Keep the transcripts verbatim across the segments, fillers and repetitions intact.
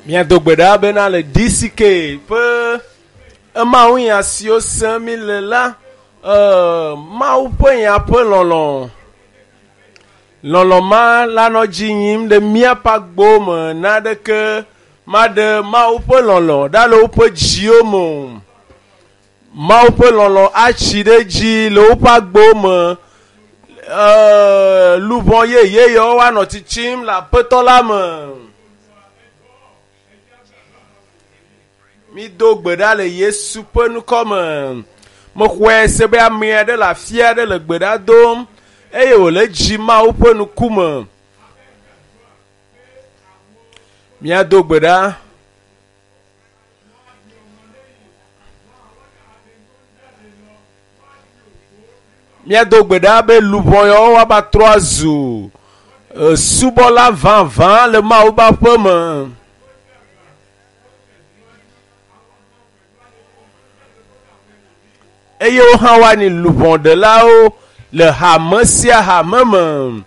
Míado gbe ɖa bena le D C K ƒe emawu nya siwo sem mi le la, eh, Mawu ƒe nya ƒe lɔlɔ. Lɔlɔ ma la nɔ dzi yim ɖe míaƒe agbo me naɖeke maɖe Mawu ƒe lɔlɔ ɖa le woƒe dziwo me o. Mawu ƒe lɔlɔ atsi ɖe dzi le woƒe agbo me. Eh, luʋɔ yeye yawo woanɔ tsitsim le aƒetɔ la me. Mi do gbe ɖa le Yesu ƒe ŋkɔ me. Mexɔe se be ame aɖe le afi aɖe le gbe ɖa dom eye wòle dzi Mawu ƒe ŋkume. Míado gbe ɖa. Míado gbe ɖa be luʋɔ yawo woava trɔ azu, eh, subɔla vavã le Mawu ƒe aƒe me. Eye wo hã woanyi luʋɔɖelawo le hame sia hame me.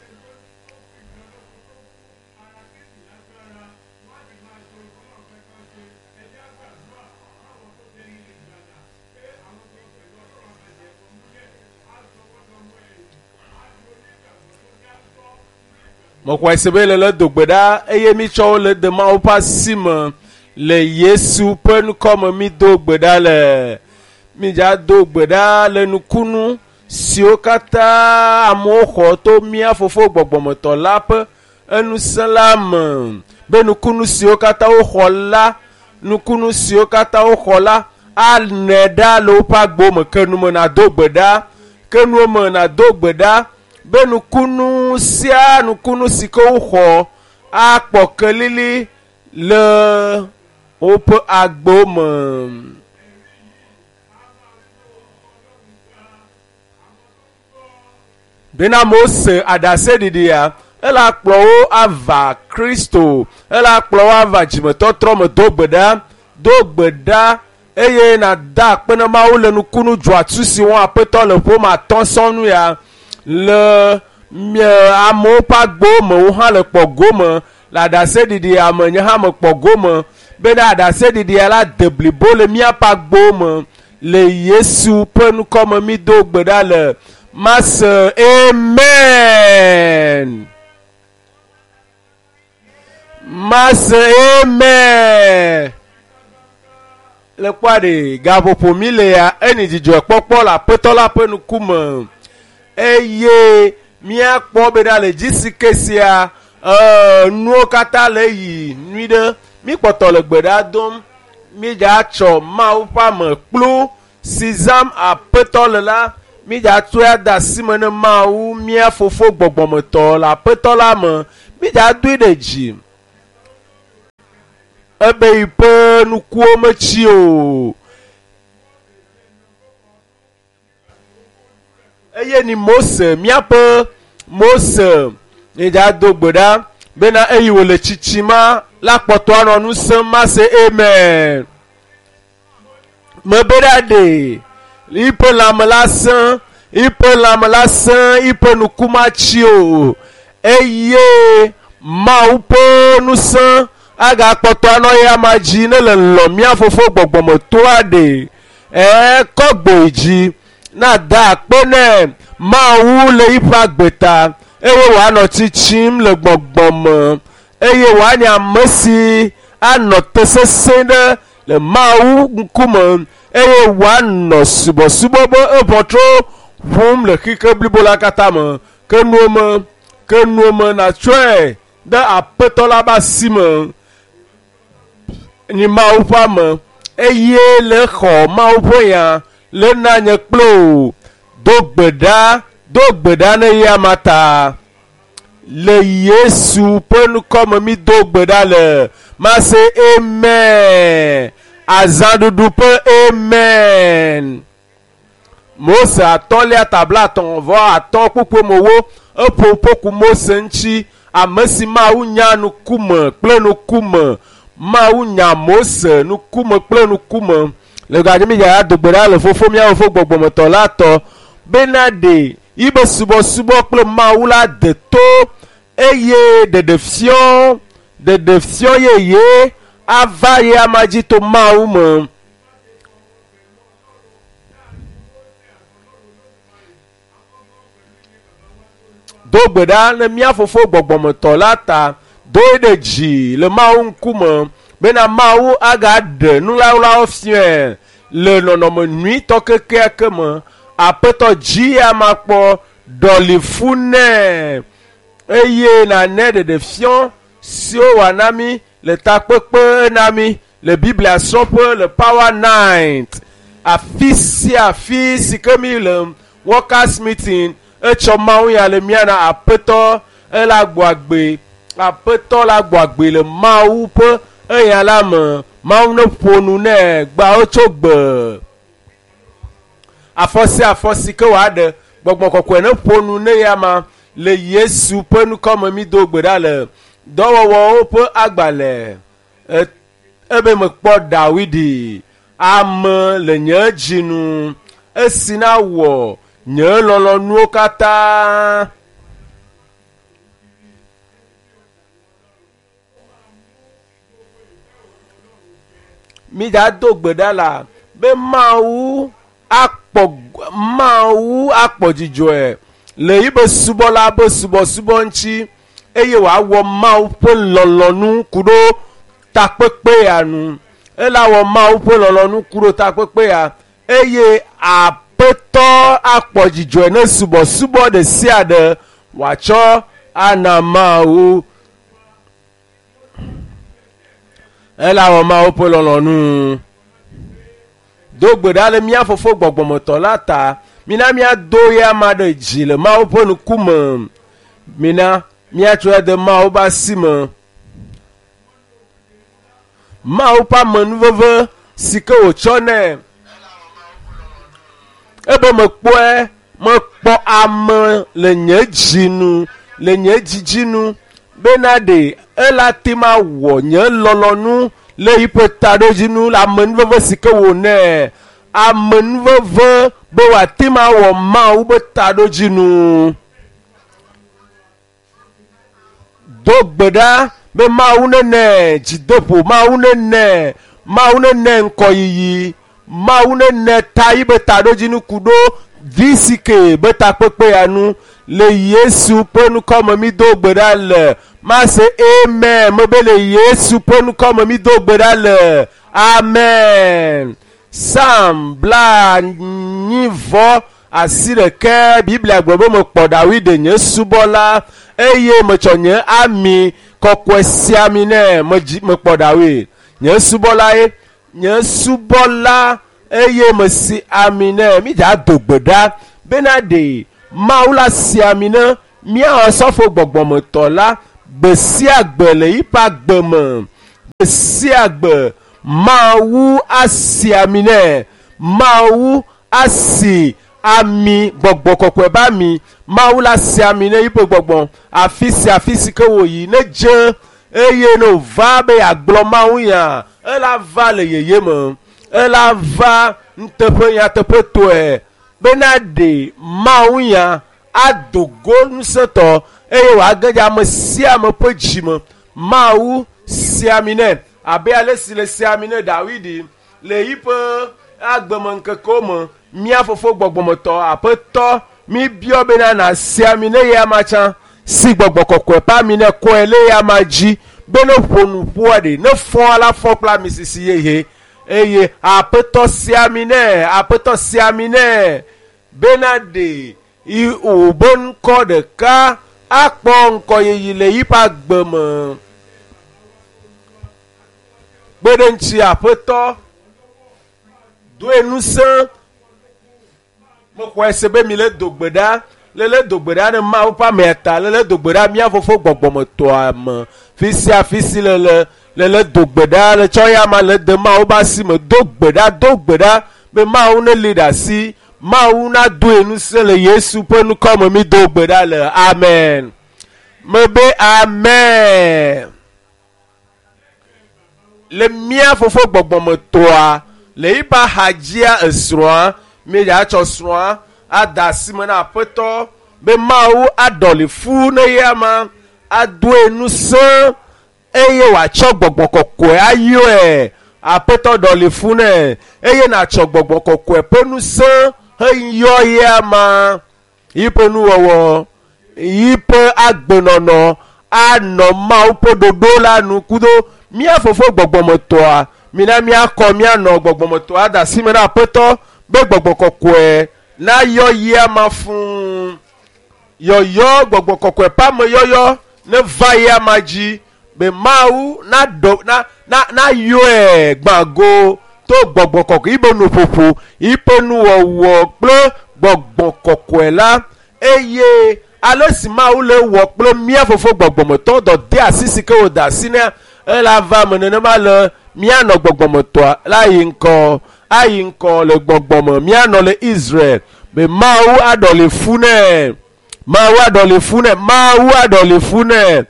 Mexɔe se be le le do gbe ɖa eye mitsɔ wo le de Mawu ƒe asi me le Yesu ƒe ŋkɔ me mi do gbe ɖa le. Midza do gbe ɖa le nukunu siwo katã amewo xɔ to mía fofo gbɔgbɔmetɔ la ƒe enusẽ la me. Be nukunu siwo katã woxɔ la, nukunu siwo katã woxɔ la anɛ ɖa le woƒe agbo me. Ke nu me nado gbe ɖa, ke nu me nado gbe ɖa be nukunu sia nukunu si ke woxɔ akpɔ kelili le woƒe agbo me. Bena Mose aɖaseɖiɖia, ela kplɔ wo ava Kristo, ela kplɔ wo ava dzimetɔtrɔ me. Do gbe ɖa, do gbe ɖa eye nada akpe na Mawu le nukunu dzɔatsu si wɔm Aƒetɔ le ƒome atɔ̃ sɔŋ ya le mie amewo ƒe agbo me, wo hã le kpɔ gome le aɖaseɖiɖia me, nye hã mekpɔ gome bena aɖaseɖiɖia la de blibo le míaƒe agbo me le Yesu ƒe ŋkɔ me. Mi do gbe ɖa le Mase amen. Mase amen. Le kpɔa ɖe gaƒoƒo mi le ya eni dzidzɔ kpɔkpɔ le Aƒetɔ la ƒe ŋkume eye míakpɔ bena le D C K sia, eh, nuwo katã le yi nyui ɖe. Míkpɔtɔ le gbe ɖa dom. Mídza tsɔ Mawu ƒe ame kplu si zãm Aƒetɔ le la, mídza tsɔe ade asi me ne Mawu mía fofo gbɔgbɔmetɔ le Aƒetɔ la me. Mídza doe ɖe dzi. Ebe yi ƒe nukuwo metsi o. Eye ni Mose, míaƒe Mose, mídza do gbe ɖa bena eyi wòle tsitsi ma la kpɔtɔ anɔ nu sẽm mase amen. Mebe ɖa ɖe yiƒe lãme la sẽ, yiƒe lãme la sẽ, yiƒe nuku matsi o. Eye Mawu ƒe ŋusẽ agakpɔtɔ anɔ ya ma dzi ne le lɔ mía fofo gbɔgbɔmetɔa ɖe. Ɛ, kɔ gbe dzi na da akpe nɛ Mawu le yiƒe agbe ta eye wòanɔ tsitsim le gbɔgbɔ me eye wòanye ame si anɔ te sesẽ ɖe le Mawu ŋkume eye wòanɔ subɔsubɔ be eʋɔtro ʋum le xexe blibo la katã me. Ke nuwo me, ke nuwo me natsɔe ɖe Aƒetɔ la ƒe asi me. Nyi Mawu ƒe ame eye le xɔ Mawu ƒe nya le na nye kple wò. Do gbe ɖa, do gbe ɖa ne ya ma ta. Le Yesu ƒe ŋkɔ me mi do gbe ɖa le. Mase amen. Azãɖuɖu ƒe amen. Mose atɔ̃lia tabla atɔ̃ vɔ atɔ̃ kpukpue me wo eƒo ƒoku Mose ŋuti. Ame si Mawu nya ŋkume kple ŋkume. Mawu nya Mose ŋkume kple ŋkume. Le gadzi mi dza do gbe ɖa le fofo míawo fofo gbɔgbɔmetɔ la tɔ bena ɖe yibe subɔsubɔ kple Mawu la de to eye ɖeɖefiɔ, ɖeɖefiɔ yeye ava ye ama dzi to Mawu me. Do gbe ɖa ne mía fofo gbɔgbɔmetɔ la ta doe ɖe dzi le Mawu ŋkume bena Mawu agaɖe nuɣaɣlawo fiae le nɔnɔme nyuitɔ kekeake me. Aƒetɔ dzi ama kpɔ ɖɔli fu nɛ eye nane ɖeɖefiɔ siwo wòana mí le takpekpe na mí le Biblia srɔ̃ƒe le Power Night afi sia afi si ke mí le workers meeting etsɔ Mawu ya le mía na aƒetɔ ele agbɔ agbe aƒetɔ la gbɔ agbe le Mawu ƒe eya la me. Mawu ne ƒo nu nɛ gbawo tso gbe afɔ sia afɔ si ke wòaɖe gbɔgbɔ kɔkɔe ne ƒo nu ne ya ma le Yesu ƒe ŋkɔme mi do gbe ɖa le dɔwɔwɔwo ƒe agbalẽ ebe mekpɔ Dawidi ame le nye dzi nu esi na wɔ nye lɔlɔ̃nuwo katã. Mi da do gbe ɖa la be Mawu akpɔ Mawu akpɔ dzidzɔe le yibe subɔla be subɔsubɔ ŋuti eye wòawɔ Mawu ƒe lɔlɔ̃nu ku ɖo takpekpe ya nu. Ela wɔ Mawu ƒe lɔlɔ̃nu ku ɖo takpekpe ya eye aƒetɔ akpɔ dzidzɔe ne subɔsubɔ ɖe sia ɖe wòatsɔ ana Mawu. Ela wɔ Mawu ƒe lɔlɔ̃nu. Do gbe ɖa le mía fofo gbɔgbɔmetɔ la ta. Mina míado ya ma ɖe dzi le Mawu ƒe ŋkume. Mina míatsɔe de Mawu ƒe asi me. Mawu ƒe amenuveve si ke wòtsɔ nɛ. Ebe mekpɔe mekpɔ ame le nye dzi nu le nye dzidzi nu bena ɖe ela te ma wɔ nye lɔlɔ̃nu le yiƒe taɖodzinu le amenuveve si ke wònɛ. Amenuveve be wòate ma wɔ Mawu be taɖodzinu. Do gbe ɖa be Mawu nene dzideƒo, Mawu nene, Mawu nene ŋkɔyiyi, Mawu nene ta yi be taɖodzinu ku ɖo V C K be takpekpe ya nu le Yesu ƒe ŋkɔme mi do gbe ɖa le. Mase amen mebe le Yesu ƒe ŋkɔme mi do gbe ɖa le. Amen. Psalm bla nyi vɔ asi ɖeke Biblia gblɔ be mekpɔ Dawide nye subɔla eye metsɔ nye ami kɔkɔe sia ami nɛ medzi mekpɔ Dawid nye subɔla ye nye subɔla eye mesi ami nɛ. Mi dza do gbe ɖa bena ɖe Mawu la si ami ne míawɔ sɔfo gbɔgbɔmetɔ la gbe sia gbe le yiƒe agbe me. Gbe sia gbe Mawu asi ami nɛ. Mawu asi ami gbɔgbɔ kɔkɔe be ami. Mawu la si ami ne yiƒe gbɔgbɔ afi sia afi si ke wòyi ne dze eye ne wòva be yeagblɔ Mawu ya ela va le yeye me. Ela va nuteƒe nyateƒetɔe bena ɖe Mawu ya ado go ŋusẽtɔ eye wòage dze ame sia ame ƒe dzi me. Mawu si ami nɛ abe ale si le si ami ne Dawidi le yiƒe agbemeŋkekewo me. Mía fofo gbɔgbɔmetɔ aƒetɔ mi biɔ bena nasi ami ne ye ama tsã si gbɔgbɔ kɔkɔe ƒe ami ne kɔe le ye ama dzi be ne ƒo nu ƒoa ɖe ne fɔ la fɔ kple ami sisi yeye eye aƒetɔ si ami nɛ aƒetɔ si ami nɛ bena ɖe yi wòbe ŋkɔ ɖeka akpɔ ŋkɔyiyi le yiƒe agbe me. Kpe ɖe ŋuti aƒetɔ doe ŋusẽ. Mexɔe se be mi le do gbe ɖa le le do gbe ɖa ne Mawu ƒe amea ta le le do gbe ɖa mía fofo gbɔgbɔmetɔa me fi sia fi si le le le le do gbe ɖa le tsɔ ya ma le de Mawu ƒe asi me. Do gbe ɖa do gbe ɖa be Mawu ne li ɖe asi Mawu nadoe ŋusẽ le Yesu ƒe ŋkɔme mi do gbe ɖa le. Amen. Mebe amen. Le mía fofo gbɔgbɔmetɔa le yiƒe axadzia esrɔ̃a mi dza tsɔ srɔ̃a ada asi me na aƒetɔ be Mawu aɖɔli fu ne ye ama adoe ŋusẽ eye wòatsɔ gbɔgbɔ kɔkɔe ayɔe aƒetɔ ɖɔli fún nɛ eye nàtsɔ gbɔgbɔ kɔkɔe ƒe ŋusẽ heyɔ ye ama yiƒe nuwɔwɔ yiƒe agbenɔnɔ anɔ Mawu ƒe ɖoɖo la nu kudo mía fofo gbɔgbɔmetɔa mina míakɔ míanɔ gbɔgbɔmetɔa da asi me na aƒetɔ be gbɔgbɔ kɔkɔe nayɔ ye ama fũu yɔyɔ gbɔgbɔ kɔkɔe ƒe ameyɔyɔ ne va ye ama dzi be Mawu naɖɔ na na nayɔe gbãgo to gbɔgbɔ kɔkɔe yiƒe nuƒoƒo yiƒe nuwɔwɔ kple gbɔgbɔ kɔkɔe la eye ale si Mawu le wɔ kple mía fofo gbɔgbɔmetɔ dɔ de asi si ke wòda asi nɛ ela va me nenema le míanɔ gbɔgbɔmetɔa la yi ŋkɔ ayi ŋkɔ le gbɔgbɔme míanɔ le Israel be Mawu aɖɔli fu nɛ Mawu aɖɔli fu nɛ Mawu aɖɔli fu nɛ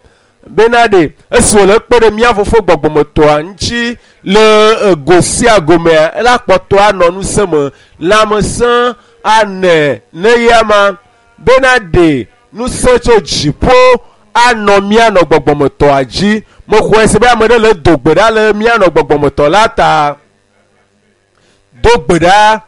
bena ɖe esi wòle kpe ɖe mía fofo gbɔgbɔmetɔa ŋuti le ego sia gomea ela kpɔtɔ anɔ ŋusẽ me lãmesẽ anɛ ne ya ma bena ɖe ŋusẽ tso dziƒo anɔ míanɔ gbɔgbɔmetɔa dzi mexɔe se be ame ɖe le do gbe ɖa le míanɔ gbɔgbɔmetɔ la ta do gbe ɖa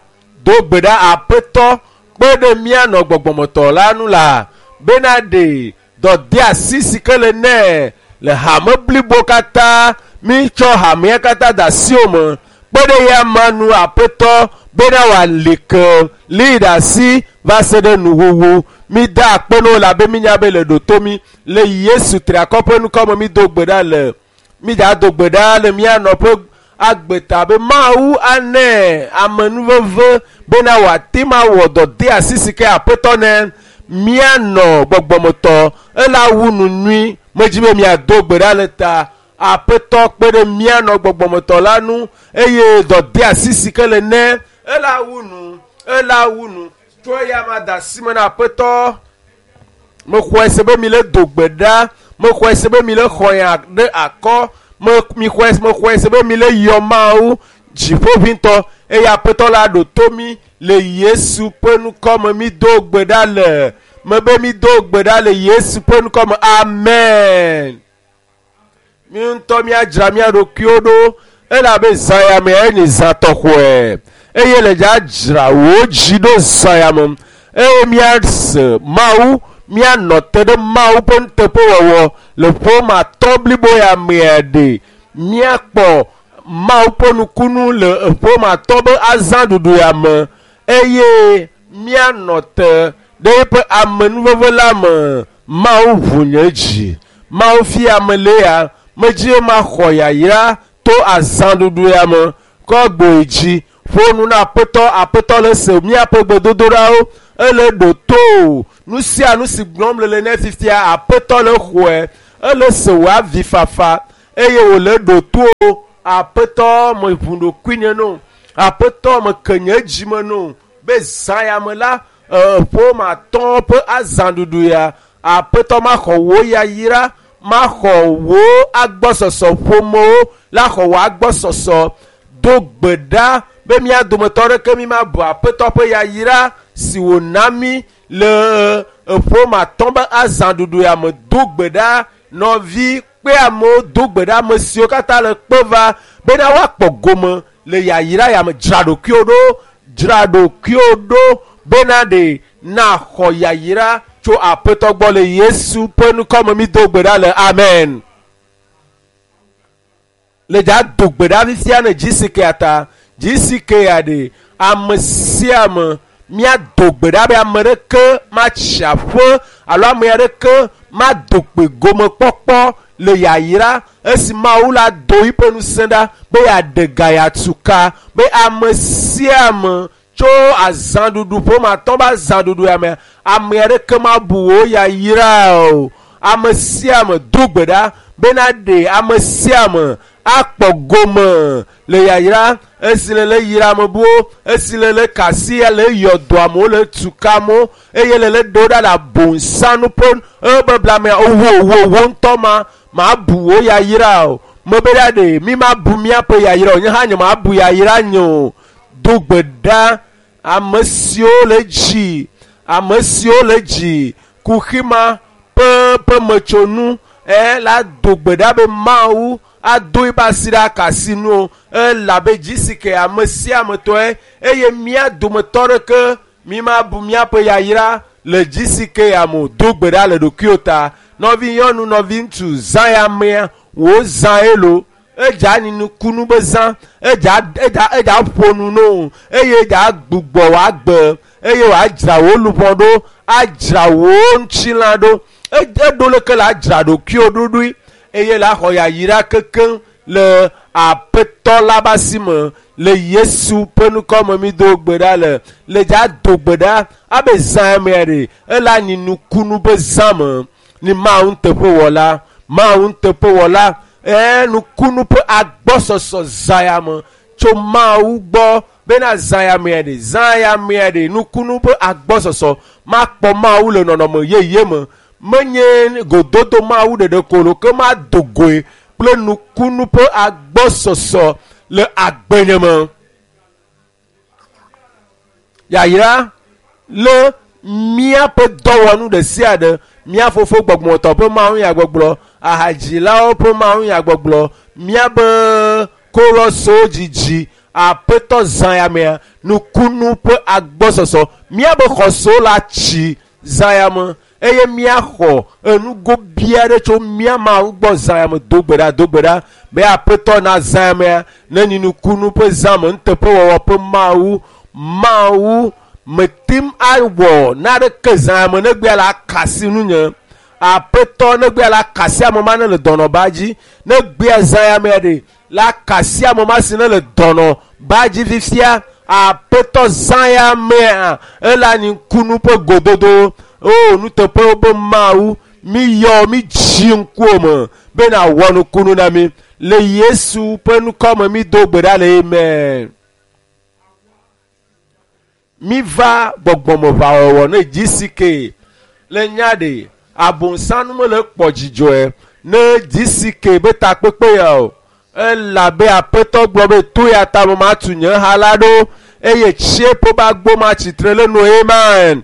do gbe ɖa aƒetɔ kpe ɖe míanɔ gbɔgbɔmetɔ la nu la bena ɖe dɔdeasi si ke le nɛ le hame blibo katã mítsɔ hamea katã da asi wo me kpe ɖe ya ma nu aƒetɔ bena wòali ke lii ɖe asi va se ɖe nuwuwu mi da akpe na wo labe mínya be le ɖoto mi le Yesu triakɔ ƒe ŋkɔ me mi do gbe ɖa le mi dza do gbe ɖa le míanɔ ƒe agbeta be Mawu anɛ amenuveve bena wòate ma wɔ dɔdeasi si ke aƒetɔ nɛ míanɔ gbɔgbɔmetɔ ela wu nu nyui medzi be miado gbe ɖa le ta aƒetɔ kpe ɖe míanɔ gbɔgbɔmetɔ la nu eye dɔdeasi si ke le nɛ ela wu nu ela wu nu tso eya ma da asi me na aƒetɔ mexɔe se be mi le do gbe ɖa mexɔe se be mi le xɔ ya ɖe akɔ me mi xɔe mexɔe se be mi le yɔ Mawu dziƒoʋĩtɔ eye aƒetɔ la ɖo to mi le Yesu ƒe ŋkɔ me mi do gbe ɖa le mebe mi do gbe ɖa le Yesu ƒe ŋkɔ me amen. Mi ŋutɔ míadzra mía ɖokuiwo ɖo elabe zã ya me enye zã tɔxɔe eye le dza dzra wò dzi ɖo zã ya me eye míase Mawu míanɔ te ɖe Mawu ƒe nuteƒewɔwɔ le ƒome atɔ̃ blibo ya mea ɖe míakpɔ Mawu ƒe nukunu le ƒome atɔ̃ be azãɖuɖu ya me eye míanɔ te ɖe eƒe amenuveve la me Mawu ʋu nye dzi Mawu fia ame le ya medzi be maxɔ yayra to azãɖuɖu ya me kɔ gboe dzi ƒo nu na aƒetɔ aƒetɔ le se míaƒe gbedodoɖawo ele ɖo to o nu sia nu si gblɔm le le ne fifia aƒetɔ le xɔe ele se wò avifafa eye wòle ɖo to o aƒetɔ me ʋu ɖokuinye no aƒetɔ me ke nye dzi me no be zã ya me la ƒome atɔ̃ ƒe azãɖuɖu ya aƒetɔ maxɔ wò yayra maxɔ wò agbɔsɔsɔ ƒomewo la xɔ wò agbɔsɔsɔ do gbe ɖa be mía dometɔ ɖeke mi ma bu aƒetɔ ƒe yayra si wòna mí le ƒome atɔ̃ be azãɖuɖu ya me do gbe ɖa nɔvi kpe amewo do gbe ɖa ame siwo katã le kpe va bena woakpɔ gome le yayra ya me dzra ɖokuiwo ɖo dzra ɖokuiwo ɖo bena ɖe naxɔ yayra tso aƒetɔ gbɔ le Yesu ƒe ŋkɔ me mi do gbe ɖa le amen. Le dza do gbe ɖa fifia ne G C K ta G C K ya ɖe ame sia ame míado gbe ɖa be ame ɖeke matsi aƒe alo ame aɖeke mado kpe gomekpɔkpɔ le yayra esi Mawu la do yiƒe ŋusẽ ɖa be yeaɖe ga yeatu ka be ame sia ame tso azãɖuɖu ƒome atɔ̃ be azãɖuɖu ya me ame aɖeke mabu wò yayra o ame sia ame do gbe ɖa bena ɖe ame sia ame akpɔ gome le yayra esi le le yra ame buwo esi le le kasi le yɔ dɔ amewo le tu ka amewo eye le le ɖo ɖa le abosanu ƒe ebebla mea wo wo wo ŋutɔ ma mabu wò yayra o mebe ɖa ɖe mi mabu míaƒe yayra o nye hã nye mabu yayra nye o do gbe ɖa ame siwo le dzi ame siwo le dzi kuxi ma ƒe ƒe metsonu ɛ la do gbe ɖa be mawu ado ebe asi ɖe akasi nu elabe dzi ke ame sia ame tɔe eye mía dometɔ ɖeke mi ma bu míaƒe yayra le dzi ke ame do gbe ɖa le ɖokuiwo ta nɔvi nyɔnu nɔvi ŋutsu zã ya mea wò zã elo edza nukunu be zã edza edza edza ƒo nu no eye edza gbugbɔ wòagbe eye wòadzra wò luʋɔ ɖo adzra wò ŋutilã ɖo eɖo leke la adzra ɖokuiwo ɖoɖoe eye la xɔ yayra kekeŋ le aƒetɔ la be asi me le yesu ƒe ŋkɔ me mi do gbe ɖa le le dza do gbe ɖa abe zã mea ɖe ele anyi nukunu be zã me ni mawu nuteƒewɔla mawu nuteƒewɔla ɛɛ nukunu ƒe agbɔsɔsɔ zã ya me tso mawu gbɔ bena zã ya mea ɖe zã ya mea ɖe nukunu ƒe agbɔsɔsɔ makpɔ mawu le nɔnɔme yeye me menye gododo mawu ɖeɖe ko lo ke ma do goe kple nukunu ƒe agbɔsɔsɔ le agbenye me yayra le míaƒe dɔwɔnu ɖe sia ɖe mía fofo gbɔgbɔtɔ ƒe mawu nyagbɔgblɔ ahadzilawo ƒe mawu nyagbɔgblɔ míaƒe korɔsowo dzidzi aƒetɔ zã ya mea nukunu ƒe agbɔsɔsɔ míaƒe xɔsewo la tsi zã ya me eye míaxɔ enugo bia ɖe tso mía mawu gbɔ zã ya me do gbe ɖa do gbe ɖa be aƒetɔ na zã ya mea ne nyi nukunu ƒe zã me nuteƒewɔwɔ ƒe mawu mawu metim awɔ naɖeke zã ya me negbea la akasi nunye aƒetɔ negbea la akasi ame ma ne le dɔnɔba dzi negbea zã ya mea ɖe la akasi ame ma si ne le dɔnɔba dzi fifia aƒetɔ zã ya mea ele anyi ŋkunu ƒe gododo o nuteƒewo be mawu mi yɔ mi dzi ŋkuwo me bena wɔ nukunu na mi le yesu ƒe ŋkɔ me mi do gbe ɖa le amen mi va gbɔgbɔmeʋawɔwɔ ne dzi si ke le nya ɖe abosanu mele kpɔ dzidzɔe ne dzi si ke be takpekpe ya o elabe aƒetɔ gblɔ be to ya ta me matu nye ha la ɖo eye tsieƒe be agbo ma tsitre le nu amen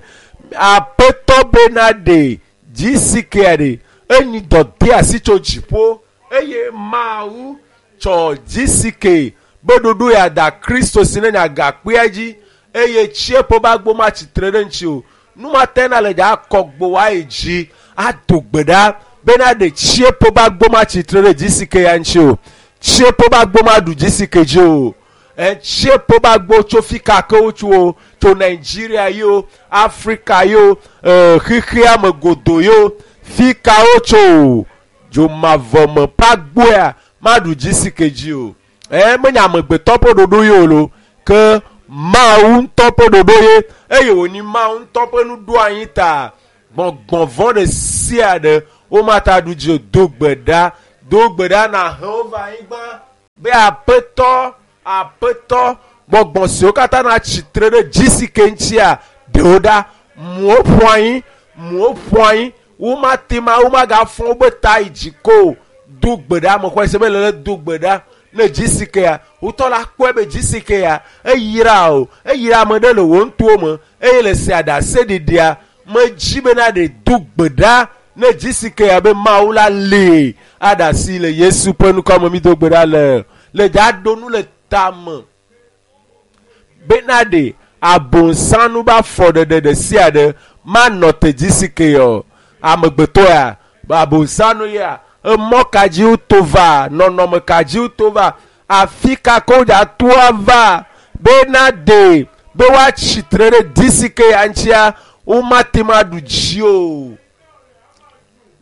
aƒetɔ bena ɖe dzi si kea ɖe enyi dɔde asi tso dziƒo eye mawu tsɔ dzi si ke be ɖoɖo ya da kristo si ne nya gakpea dzi eye tsieƒe be agbo ma tsitre ɖe ŋuti o numate na le dza akɔ gbo wa yi dzi ado gbe ɖa bena ɖe tsieƒe be agbo ma tsitre ɖe dzi si ke ya ŋuti o tsieƒe be agbo ma ɖu dzi si ke dzi o etsieƒe be agbo tso fi ka ke wotso o tso nigeria yi o afrika yi o xexea me godo yi o fi ka wotso o dzomavɔme ƒe agboa maɖu dzi si ke dzi o ɛ menye amegbetɔ ƒe ɖoɖo yi o lo ke mawu ŋutɔ ƒe ɖoɖo ye eye wònyi mawu ŋutɔ ƒe nuɖoanyi ta gbɔgbɔvɔ ɖe sia ɖe womata ɖu dzi o do gbe ɖa do gbe ɖa na he wo va anyigba be aƒetɔ aƒetɔ gbɔgbɔ siwo katã na tsitre ɖe dzi si ke ŋutia ɖewo ɖa muwo ƒu anyi muwo ƒu anyi womate ma womagafɔ wobe ta yi dzi ko o do gbe ɖa ame xɔ ese be le le do gbe ɖa ne dzi si kea wotɔ la kpɔe be dzi si kea eyra o eyra ame ɖe le wò ŋutowo me eye le se aɖase ɖiɖia medzi bena ɖe do gbe ɖa ne dzi si kea be mawu la lee aɖasi le yesu ƒe ŋkɔ me mi do gbe ɖa le le dza ɖo nu le tame bena ɖe abosanu be afɔɖeɖe ɖe sia ɖe manɔ te dzi si ke o amegbetɔ ya abosanu ya emɔ ka dzi woto va nɔnɔme ka dzi woto va afi ka ke wodza toa va bena ɖe be woatsi tre ɖe dzi si ke ya ŋutia womate ma ɖu dzi o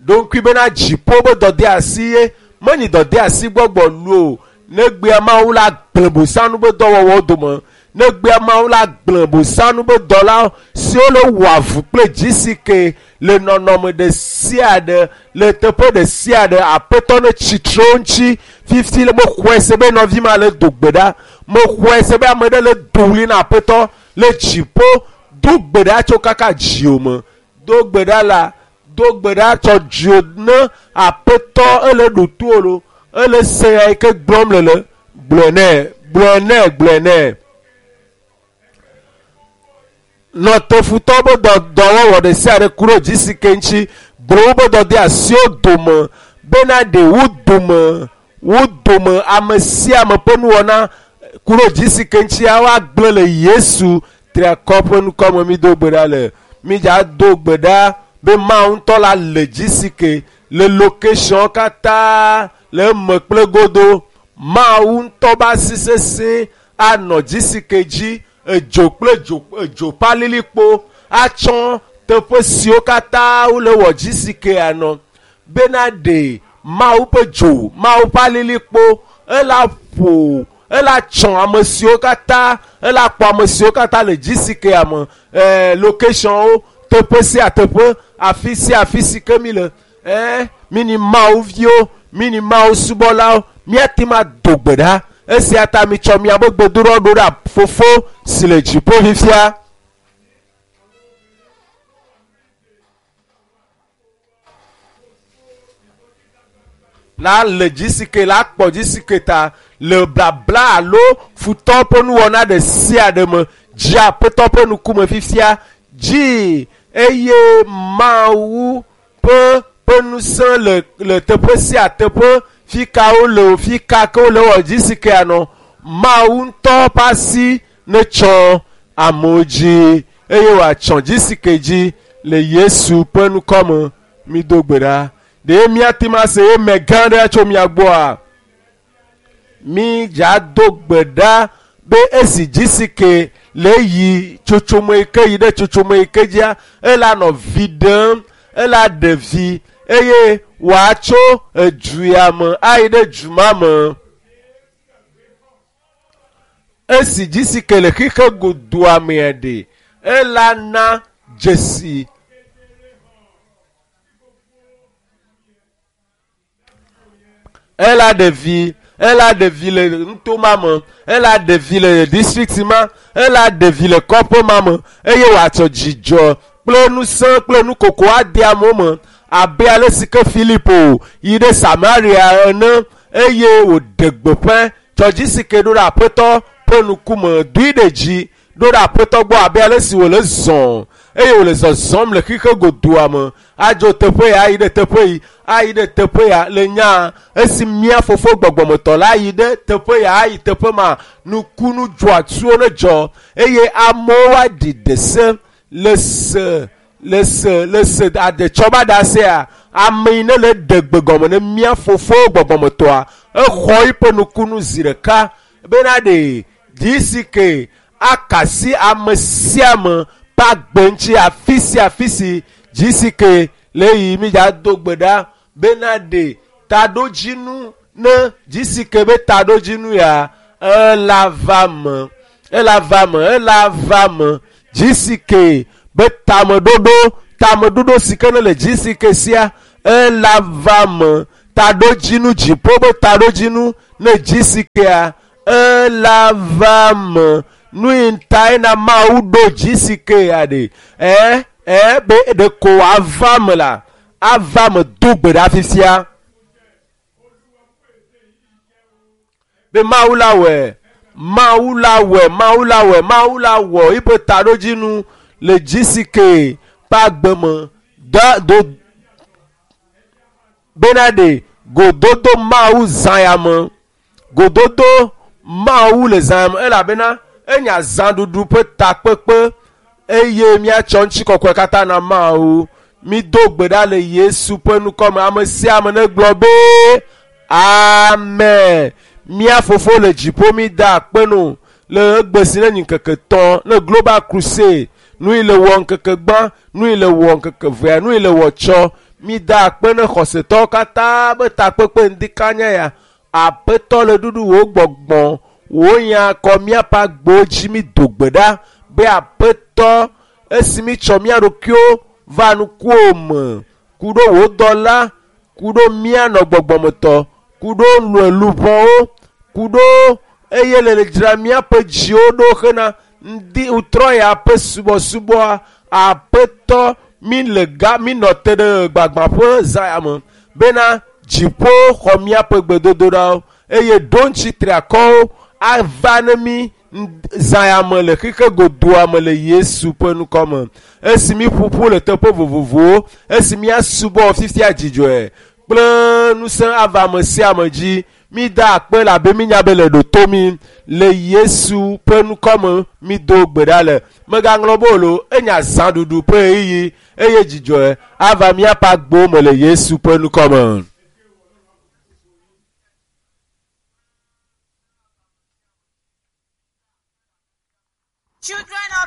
ɖoŋkui bena dziƒo be dɔdeasi ye menyi dɔdeasi gbɔgbɔ lu o negbea mawu la gblẽ bosanu be dɔwɔwɔwo dome negbea mawu la gblẽ bosanu be dɔla siwo le wɔ avu kple dzi si ke le nɔnɔme ɖe sia ɖe le teƒe ɖe sia ɖe aƒetɔ ne tsitre wo ŋuti fifi le mexɔe se be nɔvi ma le do gbe ɖa mexɔe se be ame ɖe le do ɣli na aƒetɔ le dziƒo do gbe ɖa tso kaka dziwò me do gbe ɖa la do gbe ɖa tsɔ dziwò ne aƒetɔ ele ɖo to lo ele se ya yi ke gblɔm le le gblɔe nɛ gblɔe nɛ gblɔe nɛ nɔtefutɔ be dɔ dɔwɔwɔ ɖe sia ɖe ku ɖe dzi si ke ŋuti gblɔ wobe dɔdeasiwo dome Bena ɖe wo dome wo dome ame sia ame ƒe nuwɔna ku ɖo G C K ŋutia woagblẽ le Yesu triakɔ ƒe ŋkɔme. Mi do gbe ɖa le mi dza do gbe ɖa be Mawu ŋutɔ la le G C K le location katã le eme kple godo. Mawu ŋutɔ be asi sesẽ anɔ G C K dzi, edzo kple dzo edzo ƒe alilikpo atsɔ teƒe siwo katã wole wɔ G C K anɔ bena ɖe Mawu ƒe dzo, Mawu ƒe alilikpo ela ƒo ela tsɔ ame siwo katã ela kpɔ ame siwo katã le G C K me ɛɛ locationwo teƒe sia teƒe afi sia afi si ke mi le ɛɛ mi ni Mawu viwo mi ni Mawu subɔlawo míate ma do gbe ɖa esia ta mi tsɔ miaƒe gbedoɖɔ ɖo ɖa fofo si le dziƒo fifia. La le G C K la kpɔ G C K ta le blabla alo futɔ ƒe nuwɔna ɖe sia ɖe me dzi aƒetɔ ƒe ŋkume fifia dzi eye Mawu ƒe ƒe ŋusẽ le le teƒe sia teƒe fi ka wole o fi ka ke wole wɔ G C K anɔ Mawu ŋutɔ ƒe asi netsɔ amewo dzi eye wòatsɔ G C K dzi le Yesu ƒe ŋkɔme mi do gbe ɖa. Ɖe míate ma se eme gã ɖe tso mia gbɔa mi dza do gbe ɖa be esi G C K le yi tsotsome yi ke yi ɖe tsotsome yi ke dzia ela nɔ vi ɖem ela ɖe vi eye wòatso edu ya me ayi ɖe du ma me. Esi G C K le xixe godoa mea ɖe ela na dzesi ela ɖe vi ela ɖe vi le nuto ma me ela ɖe vi le district ma ela ɖe vi le kɔƒe ma me eye wòatsɔ dzidzɔ kple ŋusẽ kple nukoko ade amewo me abe ale si ke Filipo yi ɖe Samaria ene eye wòɖe gbeƒã tsɔ G C K ɖo ɖe aƒetɔ ƒe ŋkume doe ɖe dzi ɖo ɖe aƒetɔ gbɔ abe ale si wòle zɔm eye wòle zɔzɔm le xixe godoa me adzo teƒe ya ayi ɖe teƒe yi ayi ɖe teƒe ya le nya esi mía fofo gbɔgbɔmetɔ la yi ɖe teƒe ya ayi teƒe ma nukunu dzɔatsuwo ne dzɔ eye amewo aɖi ɖese le se le se le se aɖetsɔba ɖe asea ame yi ne le ɖe gbe gɔme ne mía fofo gbɔgbɔmetɔa exɔ eƒe nukunu zi ɖeka bena ɖe G C K akasi ame sia ame ƒe agbe ŋuti afi sia afi si G C K le yi mi dza do gbe ɖa bena ɖe taɖodzinu ne G C K be taɖodzinu ya ela va me ela va me ela va me G C K be tameɖoɖo tameɖoɖo si ke ne le G C K sia ela va me taɖodzinu dziƒo be taɖodzinu ne G C K ela va me nu yi ta yina Mawu ɖo G C K ya ɖe ɛ ɛ be ɖeko wòava me la ava me do gbe ɖa fifia be Mawu la wɔe Mawu la wɔe Mawu la wɔe Mawu la wɔ eƒe taɖodzinu le G C K ƒe agbe me da do bena ɖe gododo Mawu zã ya me gododo Mawu le zã ya me elabena enya zãɖuɖu ƒe takpekpe eye míatsɔ ŋutikɔkɔe katã na Mawu. Mi do gbe ɖa le Yesu ƒe ŋkɔme ame sia ame negblɔ be amen. Mía fofo le dziƒo mi da akpe no le egbe si ne nyi ŋkeke tɔ̃ ne Global Crusade nu yi le wɔ ŋkeke gbã nu yi le wɔ ŋkeke vea nu yi le wɔ tsɔ mi da akpe ne xɔsetɔwo katã be takpekpe ŋdikanya ya aƒetɔ le ɖuɖu wò gbɔgbɔ wò nya kɔ míaƒe agbewo dzi mi do gbe ɖa be aƒetɔ esi mi tsɔ mía ɖokuiwo va nukuwo me ku ɖo wò dɔla ku ɖo mía nɔ gbɔgbɔmetɔ ku ɖo luʋɔwo ku ɖo eye le dzra míaƒe dziwo ɖo hena ŋdi ŋutrɔ ya ƒe subɔsubɔa aƒetɔ mi le ga mi nɔ te ɖe gbagbãƒe zã ya me bena dziƒo xɔ míaƒe gbedodoɖawo eye ɖo ŋuti triakɔwo ava ne mi zã ya me le xixe godoa me le Yesu ƒe ŋkɔ me esi mi ƒoƒu le teƒe vovovowo esi míasubɔ fifia dzidzɔe kple ŋusẽ ava ame sia ame dzi mi da akpe labe mi nya be le ɖo to mi le yesu ƒe ŋkɔme mi do gbe ɖa le megaŋlɔ be o lo enya zãɖuɖu ƒe ɣeyiɣi eye dzidzɔe ava míaƒe agbowo me le yesu ƒe ŋkɔme. Children of